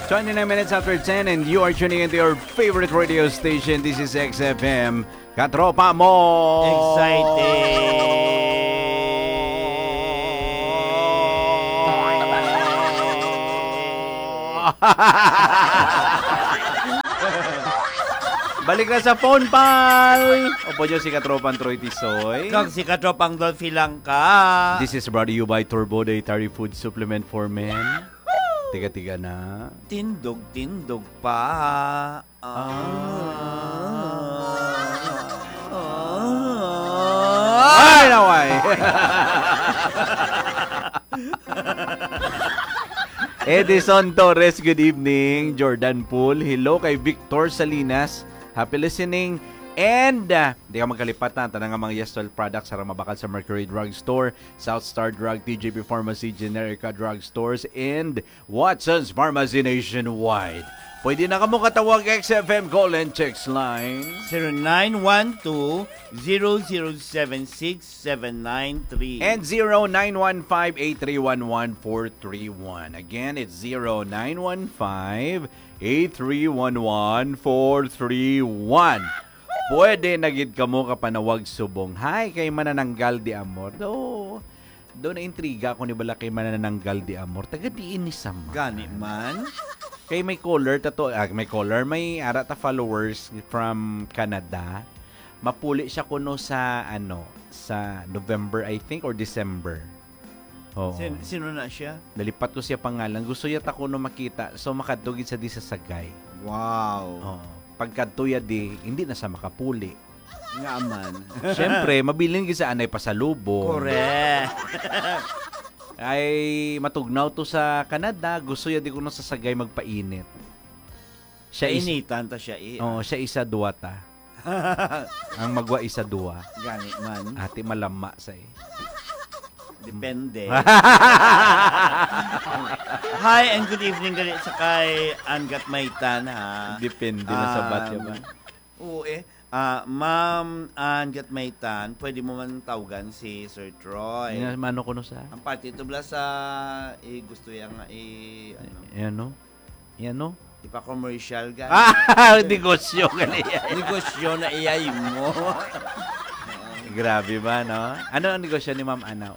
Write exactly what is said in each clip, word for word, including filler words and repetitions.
Twenty-nine minutes after ten, and you are tuning into your favorite radio station. This is X F M. Katropa mo! Excited! Balik na sa phone, pal! Opo nyo si Katropang Troy Tisoy. Kag si Katropang Dolphy Langka. This is brought to you by Turbo Dietary Food Supplement for Men. Tiga-tiga na. Tindog-tindog pa. Ah. Ah. Ay, naway. Edison Torres, good evening. Jordan Pool, hello kay Victor Salinas. Happy listening. And, ah, di ka magkalipat na, tanan nga mga Yastol products sa mabakal sa Mercury Drug Store, South Star Drug, T J P Pharmacy, Generica Drug Stores, and Watson's Pharmacy nationwide. Pwede na kamo katawag X F M call and text line. Zero nine one two, zero zero seven six, seven nine three. And zero nine one five, eight three one, one four three one. Again, it's zero nine one five, eight three one, one four three one. Pwede na gid kamo kapanawag subong. Hi, kay Manananggal de Amor. Do, do na intriga ako ni bala kay Manananggal de Amor. Taga diin ni sama? Gani man. Kay may caller ta to, ah, may caller, may ara ta followers from Canada. Mapuli siya kuno sa, ano, sa November, I think, or December. Oo. Sin-, sino na siya? Nalipat ko siya pangalan. Gusto niya ta kuno makita. So, makadto gid sa di sa Sagay. Wow. Oo. Pagkadto ya di, hindi na sa makapuli. Nga man. Siyempre, mabilin gid sa anay pasalubong. Correct. Ay, matugnaw to sa Canada. Gusto niya di kuno sa Sagay magpainit. Siya is- Kainitan ta siya, eh. Oo, siya isa, duwa ta. Ang magwa isa, duwa. Gani man. Ati malama sa, eh. Depende. Hi and good evening gali sa kay Angat Maitan, ha. Depende na sa Um, batya ba? Oo, eh. Ah, Ma'am Angat Maitan, pwede mo man tawgan si Sir Troy. Nga, mano kuno sa? Ang parte ito bala sa, eh, gusto niya nga, eh, ano? Eh, ano? Yan, no? Ipa-commercial ka. Ah, negosyo ka na yan. Negosyo na iyay mo. Grabe ba, no? Ano ang negosyo ni Ma'am Anaw?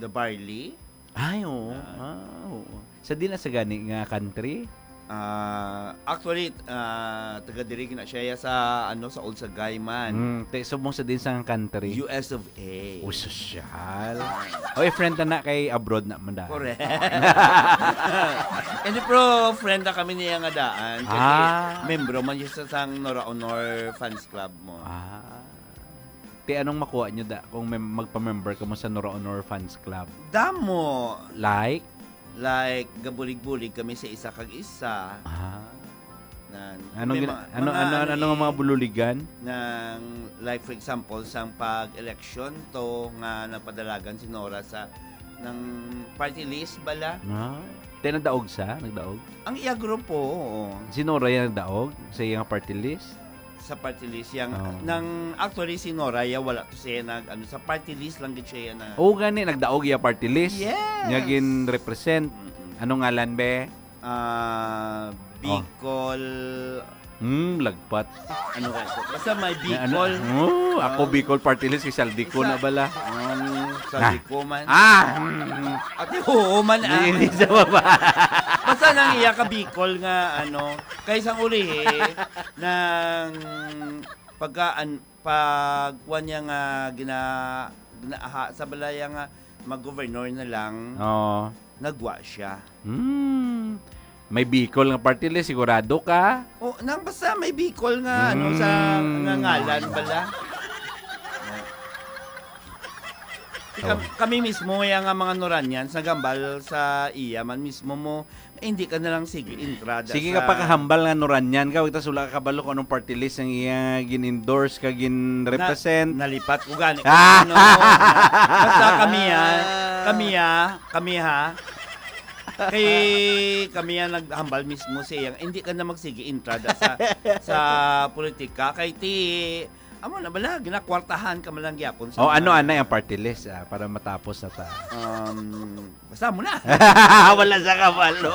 The barley? Ay, oo. Ah. Ah, oo. Sa di na sa gani nga country? Ah, actually, ah, taga diri na siya sa, ano, sa Olsagay man. Mm, te, subong sa din sa country. U S of A. O, sosyal. Oy, friend na na kay abroad na man daan. Correct. Hindi, pero friend na kami niya nga daan. Kasi Ah. membro man siya sa sang Nora Honor Fans Club mo. Ah. Ti, anong makuha nyo da, kung mem-, magpa-member ka mo sa Nora Honor Fans Club? Damo. Like? Like, gabulig-bulig kami sa isa kag isa. Ah. Nan, Anong may gina-, mga, ano, mga ano, ano, ano nga eh, mga bululigan? Nang, like, for example, sang pag-election to nga napadalagan si Nora sa, ng party list bala. Ah. Te, nagdaog sa? Nagdaog? Ang iya grupo, oo. Si Nora yung nagdaog sa iyang party list? Sa party list, yang, Oo. nang, actually, si Nora, ya, wala to siya nag, ano, sa party list lang gid siya na. Oo, gani, nagdaog ya party list. Yes. Nga gin-represent. Mm-mm. Anong ngalan, be? Ah, Oh. Bicol. Hmm, lagpat. Ano ka ito? Basta may Nga, ano? Bicol. Oh, ako Ah. Bicol party list, kay Saldico Sa na bala. Um, Saldico man. Ah! Hmm. Ate, oo man, ah. Hindi sa baba. Basta nang iya ka Bicol nga, ano, kay sang ulihi, nang pagka, an-, pag kuwan niya nga gina-, ginaaha sa balaya nga mag-governor na lang, Oo. nagwa siya. Hmm. May Bicol nga party list, sigurado ka? O, nang basta may Bicol nga, ano, sa, Hmm. nga ngalan bala. Kam-, Oh. kami mismo, ya nga mga Noranians, nagambal sa iya man mismo mo, eh, hindi ka na lang sige entrada Sige sa ka, pakahambal nga Noranian ka, wag tas wala ka kabalo kung anong party list ang iya gin-endorse ka, gin-represent. Na-, nalipat ko gani. Ah! Ano, basta kami, ah, kami, ah, kami, ha. Kay kami, ah, naghambal mismo siya. Hindi ka na magsige entrada sa, sa politika. Kay ti, Amo na bala, ginakwartahan ka man lang gyapon sa Oh, ano mga anay ang party list, ah, para matapos na ta? Um, basta mo na. Wala sa kabalo.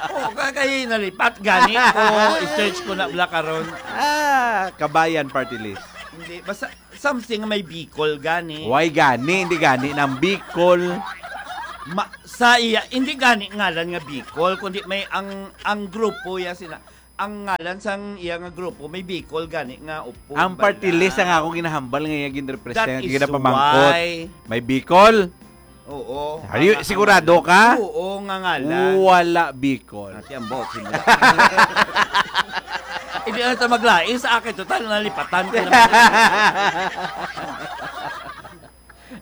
Oo, ka-, kay nalipat gani ko, i-search ko na bala karon. Ah, Kabayan party list. Hindi, basta something may Bicol gani. Why gani? Hindi gani ng Bicol. Ma-, sa iya, hindi gani ngalan nga Bicol, kundi may ang, ang grupo ya sina, ang ngalan sang iya nga grupo may Bicol gani nga upo. Ang party list ang akong ginahambal nga iya ginrepresent, That is ginapamangkot. Why. May Bicol? Oo. Are you, Ang, ang sigurado ngalan. Ka? Oo, nga ngalan. Wala Bicol. Ate, ang bot, simula. Hindi na ta maglais. Sa akin, total, nalipatan ko naman.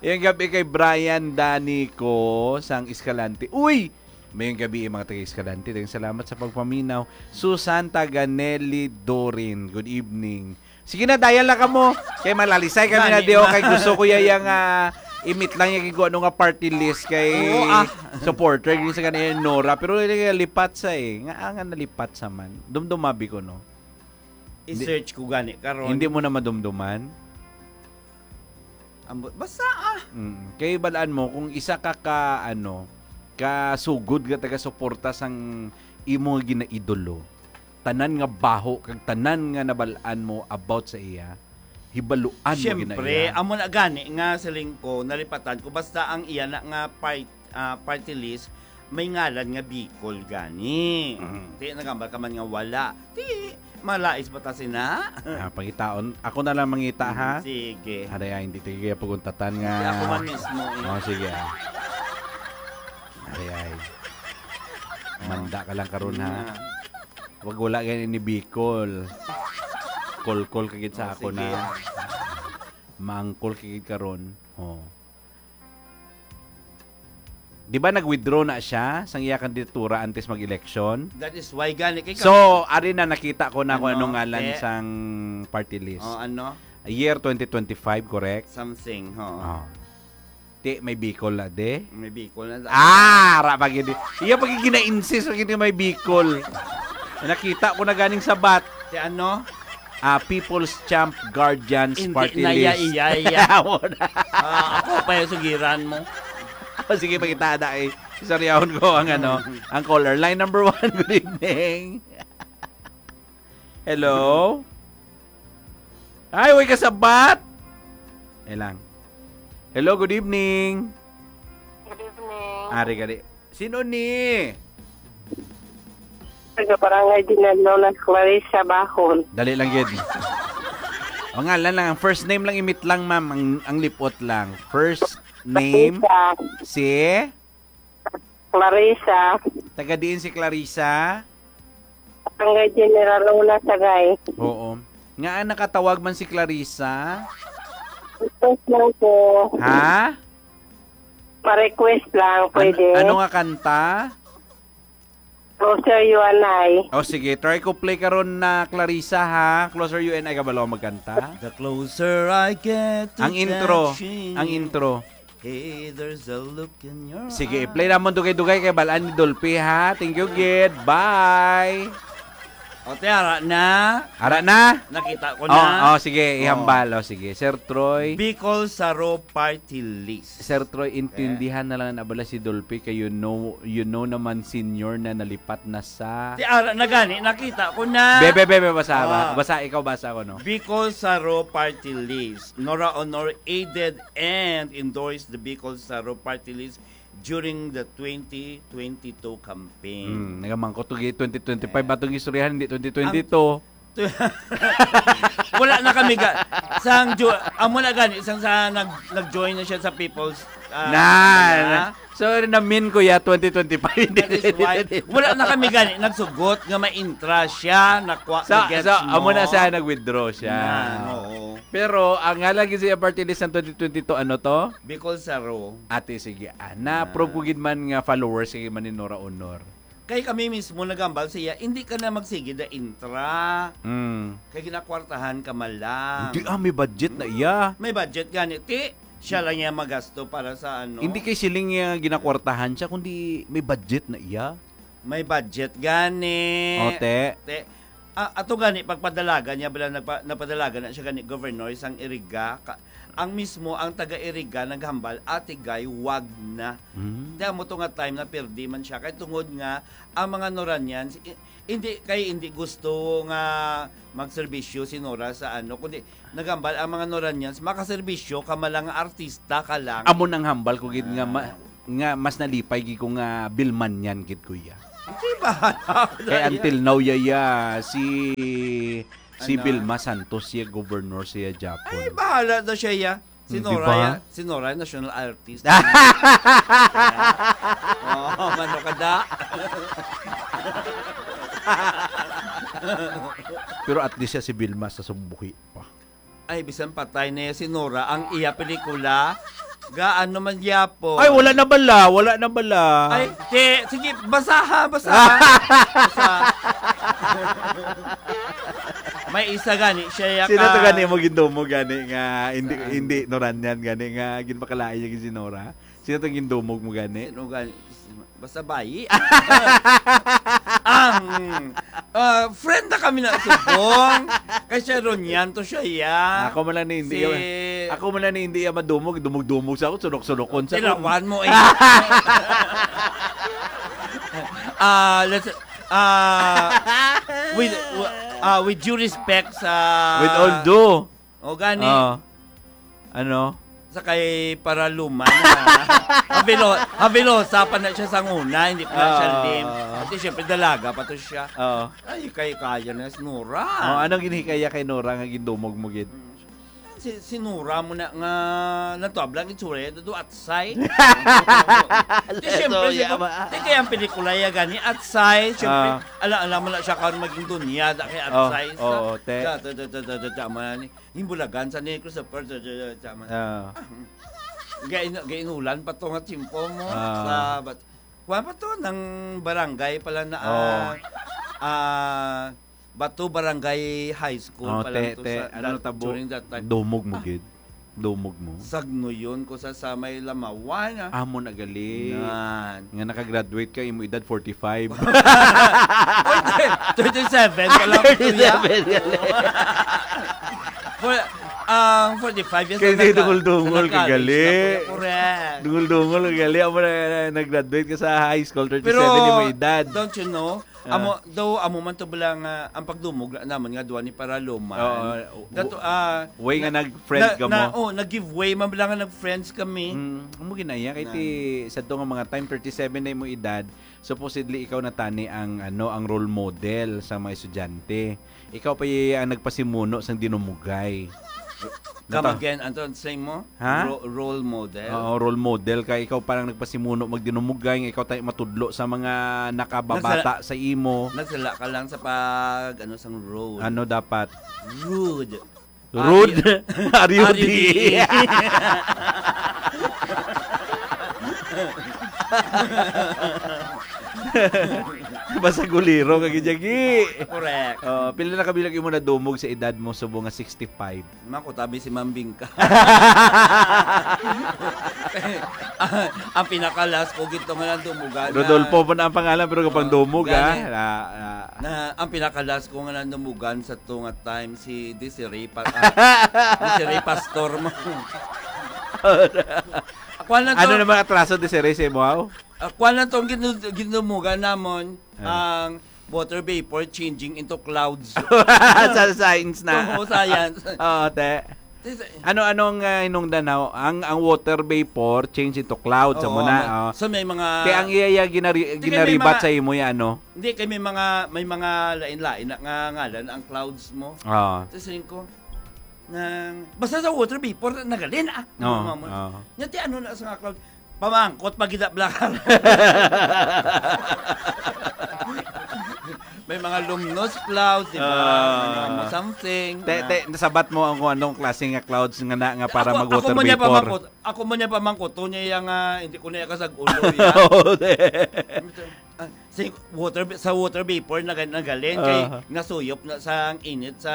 Yung gabi kay Brian Danico sang Escalante. Uy! Mayong gabi, mga taga Escalante. Daghang salamat sa pagpaminaw. Susan taga Nelly Dorin. Good evening. Sige na, dial na kamo. Kay malalisay kami na. Gani di, oh, na. Kay gusto ko ya yang, ah, imit lang yung gigo ano nga party list kay Oo, ah. Supporter, yung sa kanila yung Nora. Pero yung lipat sa eh. Nga, ah, nga nalipat sa man. Dumdumabi ko, no? I-search ko gani karon. Hindi mo na madumduman? Ambot. Basta, ah. Mm. Kay balaan mo, kung isa ka ka, ano, kasugod nga taga-suporta sang imo nga ginaidolo, tanan nga baho, kag tanan nga nabalaan mo about sa iya, hibaluan mo gina Siyempre, iya. Amo na gani nga siling ko, nalipatan ko, basta ang iya na nga part-, ah, party list, may ngalan nga Bicol gani. Mhm. Di, nagambal ka man nga wala. Di, malais ba ta sina? Ah, pangitaon. Ako na lang mangita, ha? Mm, sige. Aray, ay, hindi tayo kaya paguntatan nga. Hindi, ako man mismo, eh. Oh, sige, ah. Aray, ay. Oh. Manda ka lang karon, ha? Nga. Wag wala gani ni Bicol. Kolkol ka gid sa Oh, ako sige, na. Ah. Mangkol ka gid karon. Oh. Di ba nag-withdraw na siya sang iya kandidatura antes mag-eleksyon? That is why gani kay So, ari na nakita ko na kung Ano? anong ngalan Eh? sang party list. Oh, ano? Year twenty twenty-five, correct? Something, ho. Oh. Ti, may Bicol na, de? May Bicol na. Ah, ara pa gid. Iya pa gid gina-insist pa gid may Bicol. Nakita ko na ganing sabat. Ti ano? Ah, People's Champ Guardians Hindi Party na iya, List. Iya, iya. Amo na. Ah, ako pa yung sugiran mo. Ah, sige, pakita na eh. Saryahon ko ang ano, ang caller. Line number one, good evening. Hello? Ay, way kasabat! Eh lang. Hello, good evening. Good evening. Ari, gari. Sino ni? Taga Barangay Dinalo, na Clarissa Bahon. Dali lang gid. Pangalan lang, ang first name lang, imit lang, ma'am. Ang, ang lipot lang. First name, Clarissa. Si? Clarissa. Taga diin si Clarissa? Barangay General Luna, Sagay. Oo. Nga nakatawag man si Clarissa? Request lang po. Ha? Pa-request lang, An-, pwede? Ano nga kanta? Closer You and I. O sige, try ko play karon na Clarissa, ha. Closer You and I, kabalo magkanta. The closer I get to Ang intro, touching ang you. Intro. Hey, there's a look in your Sige, eye. I-play namon dugay-dugay kay balaan ni Dolphy, ha. Thank you, gid. Bye. O, te, ara na. Ara na? Nakita ko Oh, na. Oh, sige, Oh. Ihambal. Oh, sige. Sir Troy. Bicol Saro Party List. Sir Troy, intindihan Eh. na lang na bala si Dolphy kay you know, you know naman senior na nalipat na sa Ti ara na gani, nakita ko na. Be, be, be, be, basa ba? Ah. Basa, ikaw basa ko, no? Bicol Saro Party List. Nora Honor aided and endorsed the Bicol Saro Party List during the twenty twenty-two campaign. Hmm, nagamangkot to gid twenty twenty-five Ah. ba tong istoryahan, hindi twenty twenty-two? Wala na kami ga-, sang jo-, amo na gani, sang sa nag-, nag-join na siya sa People's, ah, Na, ano na. Na. So, namin ko ya, twenty twenty-five. That is why, wala na kami gani, nagsugot nga ma-intra siya, nakwa-, So, nagets so, amo na mo. Siya, nag-withdraw siya. Na, oo. Pero, ang nga lagi siya party list ng twenty twenty-two, ano to? Bicol Saro. Ate, sige. Ah, na-approve Ah. ko gid man nga followers kay man ni Nora Honor. Kay kami mismo nagambal sa iya, "Hindi ka na magsige da intra. Mm. Kay ginakwartahan ka man lang." Hindi, ah, may budget na iya. May budget gani, ti. Siya lang iya magasto para sa ano. Hindi kay siling niya ginakwartahan siya, kundi may budget na iya. May budget gani. O, te. Te, Ah, ato gani, pagpadalagan niya, bala, nagpa-, napadalagan na siya gani, Governor, sang Iriga. Ka-, ang mismo, ang taga Iriga, naghambal, "Ate Guy, wag na." Mm. Kaya mo to nga time na perdi man siya. Kay tungod nga, ang mga Noranians, i-, hindi, kay hindi gusto nga magserbisyo si Nora sa ano, kundi naghambal ang mga Noranians, makaserbisyo ka man lang nga artista ka lang. Amo nang hambal ko gid nga ma-, Ah. nga mas nalipay gid ko nga Bilman yan gid, kuya. Hindi ba? Kay until now, yaya, si, si Ano? Vilma Santos, siya governor siya Japon. Ay, bahala na siya, ya. Si Hmm, di Nora, ba? Ya. Si Nora, national artist. Oh, mano ka da? Pero at least siya si Vilma sa sumbuhi pa. Ay, bisan patay na ya si Nora, ang iya pelikula, gaano man gyapon. Ay, wala na bala, wala na bala. Ay, di, sige, basaha, basaha. Basaha. May isa gani, siya ya Sino to ka gani mo gindumog gani nga hindi, Ah. hindi Noranyan gani nga ginpakalain niya si Nora? Sino to gindumog mo gani? Sino gani? Basta bayi. Ang, ah, friend na kami na subong. Kay siya ron yan, to siya, ya. Ako man lang ni hindi Si ya-, ako man lang ni hindi ya madumog, dumog-dumog sa ako, sunok-sunokon sa ako. Tilawan mo, eh. Ah, let's, ah, with, ah, with due respect sa With all due. O, gani. Ah. Ano? Sa kay Paraluman, ah. Havelo-, Havelosa pa na siya sa una, hindi pa na siya Ah. lim. Kasi syempre, dalaga pa to siya. Oo. Ay, kay kaya na si Nora. Oh, anong ginhikaya kay Nora nga gindumog mo gid? Mm. Si, si Nora mo na nga, natuab lang itsura, do atsay. Di, syempre, Leso, siguro, yama. Di kaya ang pelikula ya gani, atsay, syempre, Ah. ala-ala mo na siya karon maging dunya, da kay Oh, atsay sa, oo, te. Sa, sa, sa, sa, sa, sa, man ni, Himbulagan sa ni Christopher, sa, sa, sa, sa, man. Ah. Ah, gay-, gainulan pa to nga tiyempo mo, Ah. sa, bat-, kuwan pa to, nang barangay pala na, Oh. ah, ah, Bato Barangay High School Oh, pa lang te, to te, sa ano that, tabo? During that time. Dumog mo Ah. gid. Dumog mo. Sagnuyon ko sa, sa may Lamawan, ah. Amo na gali. Nan. Nga nakagraduate ka, imo edad forty-five. Oy, thirty-seven pa lang ito, ya. Thirty-seven, gali. For, ang forty-five years Kay na di naka-, dungol-dungol ka, naka-college gali. Na po. Correct. Dungol-dungol ka, gali. Amo na, na, nag-graduate ka sa high school, thirty-seven Pero, yung edad. Don't you know? Ah. Amo, though, amo man to bala nga, ang pagdumog na naman nga duwa ni Paraluman. Oo, Dato, w-, ah, way nga na, nag-friend na, ka na, mo. Oh, nag-give way man bala nga nag-friends kami. Mm, amo ginaya, kay Na. ti, sa to nga mga time, thirty-seven na imong edad, supposedly ikaw na tani ang, ano, ang role model sa mga estudyante. Ikaw pa iya ang nagpasimuno sang dinumugay. Come Nata- again, Anton, say mo? Ha? Ro-, role model? Oo, role model ka. Ikaw parang nagpasimuno magdinumugay, nga ikaw tayo matudlo sa mga nakababata Nagsala-, sa imo. Nagsala ka lang sa pag, ano, sang role. Ano dapat? Rude. Rude? Are you, are you the Basta guliro ka gid, Jagi. Correct. Oh, pila na kabilang imo nadumog sa edad mo, subong nga sixty-five? Mako, tabi si Ma'am Bingka. Ang pinakalas ko gito nga nandumugan na Rodolfo po na ang pangalan, pero kapang Oh, dumog, ah. gani. Ah, ah. Na, ang pinakalas ko nga nandumugan sa to nga time, si Desiree Pa-, ah, Desiree Pastor mo. Kuwan lang Ano to. naman atraso, Desiree, sa imo, aw? Ah, kuwan lang tong ginu-, ginumugan namon, Ah. ang water vapor changing into clouds. Sa science na. Oo, science. Oo, te. Tis- Ano, anong, ah, hinungdan na? Ang, ang water vapor change into clouds, Oo, amo na, ma-, oh. so may mga Kaya ang iya, iya ginari-, Sige, may ginaribat mga sa imo, ya, ano? Hindi, kay may mga, may mga lain-lain na nga ngalan ang clouds mo. Oo. Tapos yun ko, nang, basta sa water vapor, nagalin, ah. Oo, Mama mo. oo. Nya, ti ano na sa nga cloud? Pamangkot, pag gidablakan. May mga luminous clouds, di ba? Ah. May mga something Te, na te, nasabat mo ang kung anong klase nga clouds nga na, nga para Ako, mag-water ako man niya vapor. pamangkot, ako man niya pamangkot, to niya yung, ah, hindi ko na yung kasag-ulo, ya. Oo, te. Ah, si water, sa water vapor na, nagalin kay Aha. nasuyop na sa ang init sa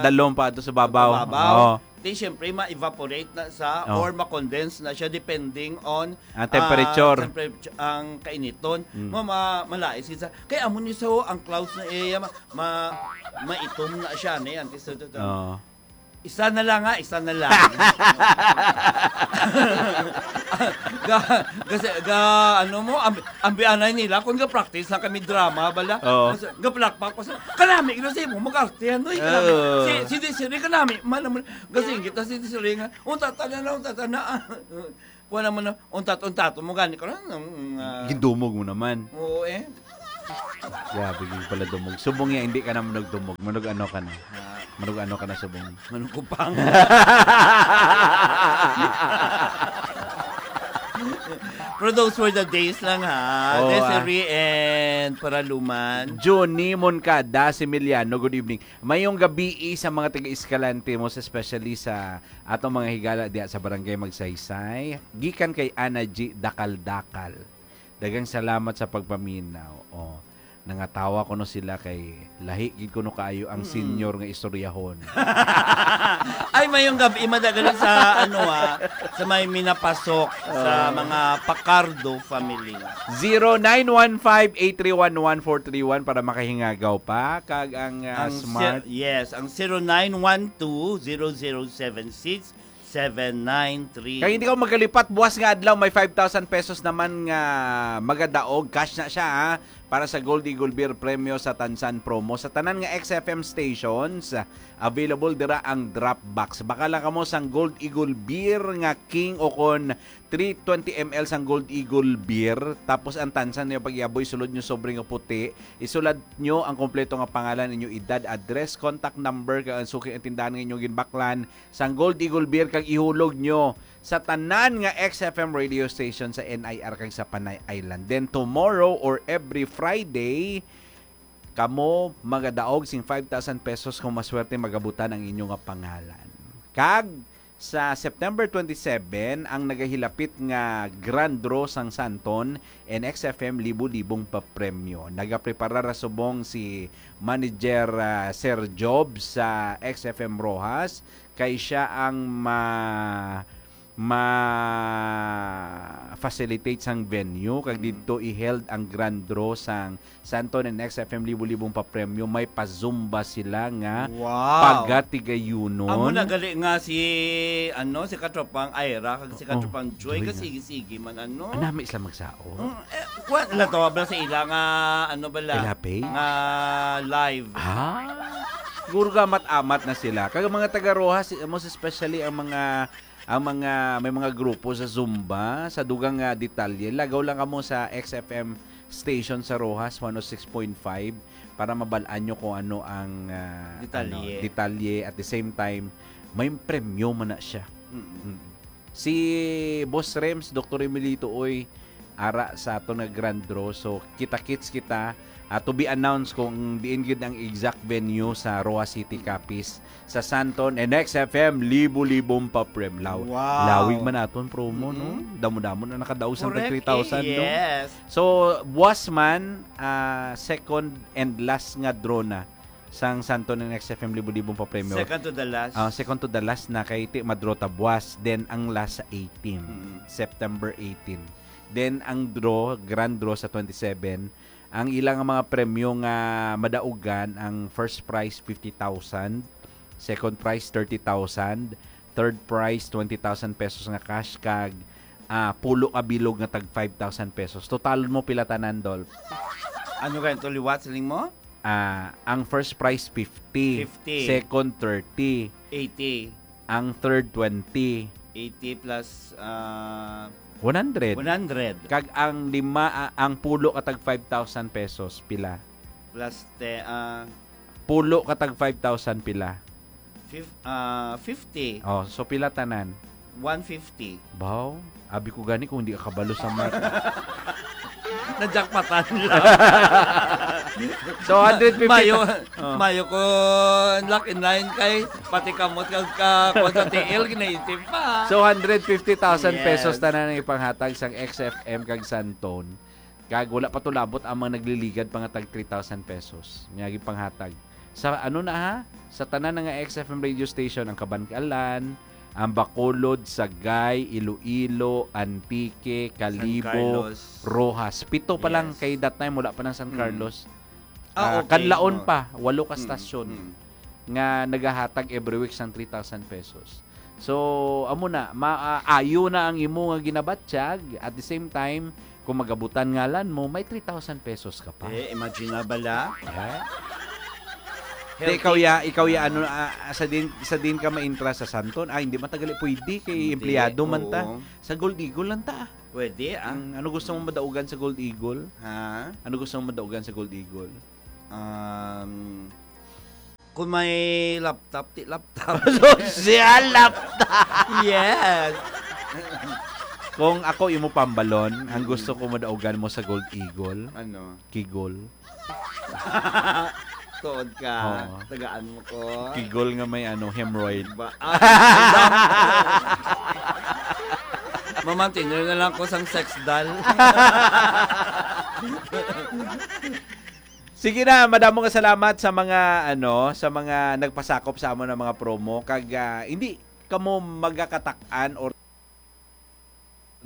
Dalom pa ato sa babaw. Sa babaw. Oo. Siyempre, ma-evaporate na sa Oh. or ma-condense na siya depending on, Ang temperature. ah, temperature, ang kainiton. Mm. Ma-, ma-, malain siya. Kaya amo ni sa ang clouds na iya, ma-, ma-, maitom na siya, ne? Ang tiso-, Oo. Isa na lang, ha? Isa na lang. Ga, kasi, ga, ano mo, ambi-, ambianay nila, kung ga-practice lang kami drama, bala. Oo. Kasi, ga-plakpak ko sa, kanami, ino sa imo, mag-arte, ano, eh, kanami. Oo. Si, si Desiree, kanami, man, man, kasi kita si Desiree nga, unta, tana na, unta, tana. Kuha naman na, untat-untat mo gani ko lang, ang, ah, Gindumog mo naman. Oo, eh. Grabe, yung pala dumog. Subong niya, hindi ka naman nagdumog. Manug ano ka na. Ah. Manug ano ka na, subong. Manugupang. Pero those were the days lang, ha? Oo, Desiree ah. and Paraluman. Johnny Moncada Similiano, good evening. Mayong gabi sa mga taga-Escalante, most especially sa atong mga higala diha sa Barangay Magsaysay. Gikan kay Ana G Dakal-Dakal. Daghang salamat sa pagpaminaw. Oh, nangatawa ko no sila kay lahi gid kuno kaayo ang Mm. senior nga istoryahon. Ay, mayong gabi, madagali sa, ano, ah, sa may minapasok sa Ah. mga Pacardo family. Zero nine one five, eight three one, one four three one para makahingagaw pa. Kag ang, ah, Ang smart. si-, yes, ang zero nine one two, zero zero seven six, seven nine three. Kag hindi ka magkalipat, buwas nga adlaw may five thousand pesos naman nga magadaog. Cash na siya, ha, para sa Gold Eagle Beer Premyo sa Tansan Promo. Sa tanan nga X F M stations, available dira ang drop box. Bakala kamo sang Gold Eagle Beer nga King o kon three twenty M L sang Gold Eagle Beer, tapos ang tansan niyo pag-iaboy, sulod niyo sobre nga puti, isulat niyo ang kompleto nga pangalan, inyo edad, address, contact number, kag ang suki nga tindahan nga inyo ginbaklan sang Gold Eagle Beer, kag ihulog niyo sa tanan nga X F M radio station sa N I R kag sa Panay Island. Then tomorrow or every Friday, kamo magadaog sing five thousand pesos kung maswerte magabutan ang inyo nga pangalan. Kag sa September twenty-seven, ang nagahilapit nga grand draw sang Santon and X F M libo-libong papremyo. Nagaprepara ra subong si Manager, ah, Sir Job sa X F M Roxas, kay siya ang ma-, ma-facilitate sang venue, kag Mm. didto i-held ang grand draw sang Santon and X F M libo-libong papremyo, may pa-Zumba sila nga Wow. paga-Tigayunon. Amo na gali nga si, ano, si Katropang Ira kag si Oo, Katropang Joy, Joy nga. kasigi-sigi man, ano? Anami sila magsaot. Mm, eh, kuwan, lato, bala sa ila nga, ano bala? Ilapay? Nga live. Ah, siguro gamat-amat na sila. Kag ang mga taga Roxas, most especially ang mga ang mga, may mga grupo sa Zumba, sa dugang nga detalye, lagaw lang kamo sa X F M station sa Roxas, one oh six point five, para mabal-an nyo kung ano ang, ah, Detalye. ano, detalye. At the same time, may premyo man na siya. Mm-mm. Mm. Si Boss Rems, Doktor Emilito, oy, ara sa aton nga grand draw. So, kita-kits kita. Ah, to be announced kung diin gid ang exact venue sa Roxas City, Capiz, sa Santon and X F M, libo-libong papremyo. Wow. Lawig man aton promo, no? Mm-mm. Damo-damo na nakadaog sa Correct. three thousand, no? Yes. So, buwas man, ah, second and last nga draw na sang Santon and X F M libo-libong papremyo. Second to the last. Ah, second to the last na kay ti madro ta buwas. Then, ang last sa eighteen, Mm. September eighteen. Then, ang draw, grand draw sa twenty-seven, ang ilang mga premyo nga madaugan, ang first prize, fifty thousand, second prize, thirty thousand, third prize, twenty thousand pesos nga cash, kag, ah, pulo ka bilog nga tag five thousand pesos. Totalon mo pila tanan, Dol? Ano kayo, to liwat, siling mo? Ah, ang first prize, fifty. Fifty. Second, thirty. Eighty. Ang third, twenty. Eighty plus, ah, One hundred. One hundred. Kag ang lima, ah, ang pulo ka tag five thousand pesos, pila? Plus te-, ah, Pulo ka tag five thousand, pila? Fif-, ah, fifty. Oh, so pila tanan? One fifty. Baw, abi ko gani kung di ka kabalo sa math. Najakpatan lang. So, hundred fifty Mayo, ta-, oh. mayo ko lock in line kay pati kamot kag ka, kung sa T L, ginaisip pa. So, hundred fifty thousand Yes. pesos tanan ang ipanghatag sang X F M kag Santon. Kag wala pa to labot ang mga nagliligad pa nga tag three thousand pesos nga gipanghatag. Sa ano na ha? Sa tanan na nga X F M radio station, ang Kabankalan, ang Bacolod, Sagay, Iloilo, Antique, Kalibo, Carlos. Roxas. Pito pa lang Yes. kay that time, wala pa ng San Mm. Carlos. Ah, Ah, okay. Kanlaon Oh. pa, walo ka Mm, stasyon mm. nga nagahatag every week sang three thousand pesos. So, amo na, maayo na ang imo nga ginabatyag. At the same time, kung magabutan ngalan mo, may three thousand pesos ka pa. Eh, imagine na bala. Eh? Te, ikaw ya, ikaw ya, ano, ah, sa din, sa din ka maintra sa Santon? Ah, hindi matagal pwede kay Hindi, empleyado man ta. Oo. Sa Gold Eagle lang ta. Pwede, ah. Ang ano gusto mo madaugan sa Gold Eagle? Ha? Ano gusto mo madaugan sa Gold Eagle? Um, kung may laptop, ti laptop. Social laptop! Yes! Kung ako imo pambalon, ang gusto ko madaugan mo sa Gold Eagle, Ano? kigol. Tuod ka. Oo. Tagaan mo ko. Kigol nga may ano, hemorrhoid. Ba? Ah, mamantinor na lang ko sang sex doll. Sige na, madamo nga salamat sa mga ano, sa mga nagpasakop sa amon nga mga promo kag ah, hindi kamo magakatak-an or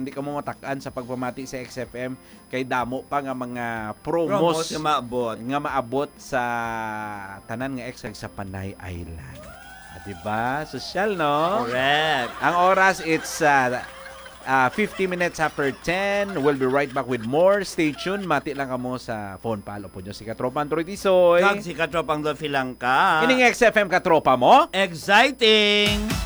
hindi kamo matak-an sa pagpamati sa X F M kay damo pa nga mga promos Promos nga maabot. nga maabot sa tanan nga X sa Panay Island. Ah, di ba? Sosyal, no? Correct. Ang oras, it's uh, uh, fifty minutes after ten. We'll be right back with more. Stay tuned. Mati lang kamo sa phone palo po nyo si Katropang Troy Tisoy. Kag si Katropang Dolphy Langka. Ining X F M Katropa mo. Exciting!